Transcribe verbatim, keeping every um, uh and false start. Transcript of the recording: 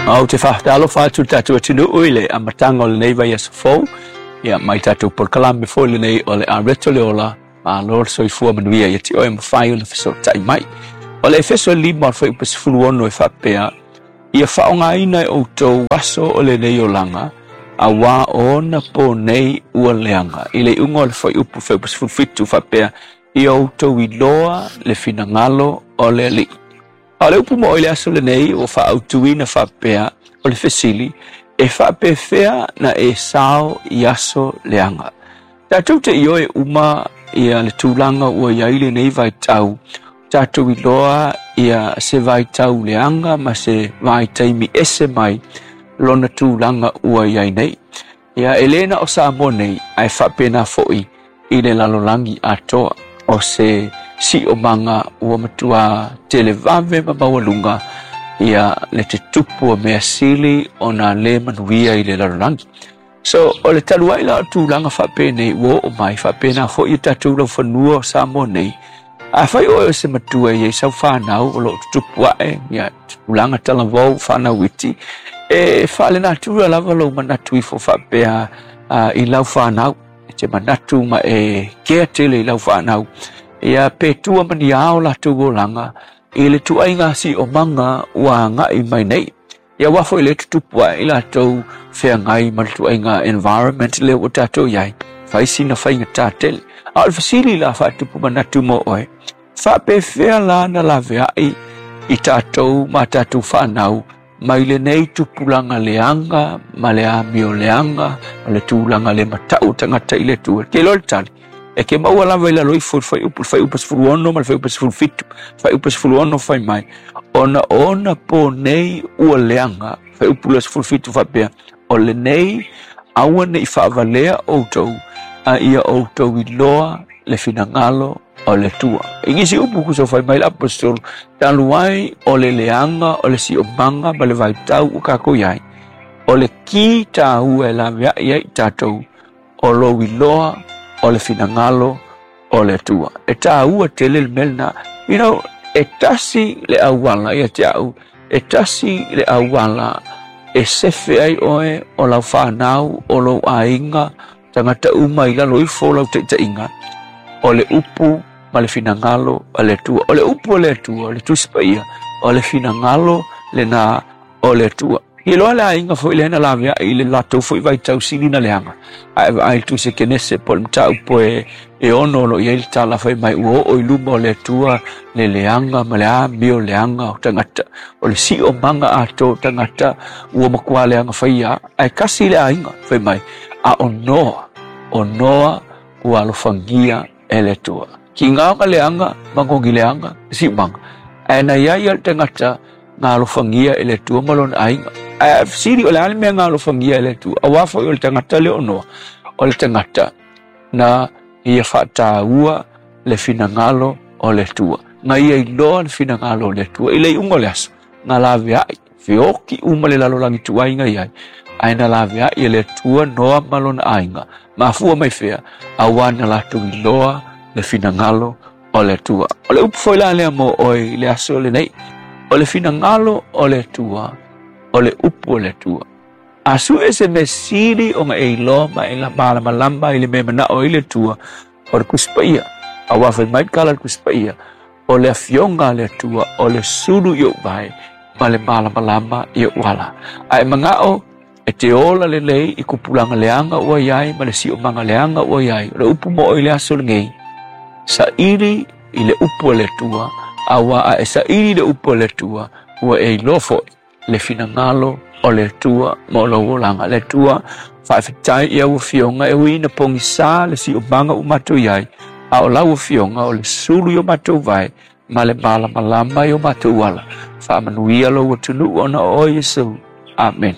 Ou te faatalofa atu le tatou atunuu i le amataga o lenei vaiaso fou, ia mai tatou polokalame foi lenei o le Areto le Ola. Malo le soifua manuia ia te oe mafai ona fesootai mai. O le Efeso lima o le fuaiupu sefulu ono e faapea, ia faaaogaina e outou aso o lenei olaga, auā o ona po nei ua leaga. I le iuga o le fuaiupu fuaiupu sefulu fitu faapea, ia outou iloa le finagalo o le Alii. A o le upu mo oe i le aso lenei ua faaautuina faapea, o le fesili, e faapefea na e sao i aso leaga. Tatou te ioe uma ia le tulaga ua i ai lenei vaitau, tatou iloa ia se vaitau leaga ma se vaitaimi ese mai lona tulaga ua i ai nei. Ia e le na o Samoa nei, ae faapena foi i le lalolagi atoa. O se siomaga ua matua televave ma maualuga ia le tutupu o mea sili ona le manuia i le lalolagi. So, o le talu ai la o tulaga faapenei ua oo mai, faapena foi ia tatou laufanua o Samoa nei. Afai oe o se matua e i ai sau fanau o loo tutupu ae, ia tulaga talavou fanau iti, e faalenatura lava lou manatu ifo faapea uh, i lau fanau. E te manatu ma e kea tele i lau fanau. Ia pe tua ma ni ao latou olaga i le tuaiga siomaga ua agai mai nei. Ia aua foi le tutupu ae i latou feagai ma le tuaiga environment lea ua tatou i ai. Fai sina faigata tele. A o le fesili la faatupu manatu mo oe, faapefea la na laveai i tatou ma tatou fanau mai lenei tupulaga leaga ma le amio leaga ma le tulaga le matau tagata i le Atua. Ke iloa le tali, e ke maua lava i lalo ifo i le fuaiupu, le fuaiupu sefulu ono ma le fuaiupu sefulu fitu. Fuaiupu sefulu ono fai mai, ona o ona po nei ua leaga. Fuaiupu le sefulu fitu faapea, o lenei aua ne i faavalea outou, a ia outou iloa le finagalo o le Atua. I nisi upu kusa fai mai le apostolo, talu ai o le leaga o le siomaga ma le vaitau ua kākou i ai, o le ki tāua e laveai ai i tatou, o lou iloa o le finagalo o le Atua. E tāua tele le mea lena. You know, e tasi le auala ia te au, e tasi le auala e sefe ai oe o lau fanau, o lou aiga, tagata uma i lalo ifo o lau taitaiga, o le upu ma le finagalo o le Atua. O le upu o le Atua, o le Tusi Paia, o le finagalo lena o le Atua. Iloa le aiga foi lea na laveai i le latou foi vaitau sili na leaga. Ae vaai le Tusi Kenese po o le mataupu e, e ono o lo o i ai le tala fai mai ua oo i luma o le Atua le leaga ma le amio leaga o tagata. O le siomaga atoa o tagata ua matua leaga faia. Ae kasi le aiga fai mai, a o Noa, o Noa ua alofagia e le Atua. Ki ngā leaga, magogi leaga, siomaga. Ae na ia ia le tagata nga alofagia e le Atua ma lona aiga. Ae fesili o le a le mea nga alofagia e le Atua, auā foi o le tagata lea o Noa, o le tagata na ia faataua le finagalo o le Atua. Na ia iloa le finagalo o le Atua. I le iuga o le aso, na laveai, feoki uma le lalolagi tuaiga i ai, ae na laveai e le Atua Noa ma lona aiga. Mafua mai fea, auā na latou iloa le finagalo o le Atua. O le upu foi la lea mo oe i le aso lenei, o le finagalo o le Atua, o le upu o le Atua. A sue se mea sili ona e iloa ma e malamalama i le mea manao ai le Atua, o le Tusi Paia. Auā fai mai le tala le Tusi Paia, o le afioga a le Atua, o le sulu i ou vae, ma le malamalama i ou ala. Ae manao e te ola lelei i kupulaga leaga ua i ai ma le siomaga leaga ua i ai. O le upu mo oe i le aso lenei, saili i le upu a le Atua, auā a e saili le upu a le Atua, ua e iloa foi le finagalo o le Atua mo lou olaga. Le Atua, faafetai i au afioga e ui ina pogisā le siomaga ua matou i ai, a o lau afioga o le sulu i o matou vae ma le malamalama i o matou ala. Faamanuia lou atunuu ona o oe Iesu. Amen.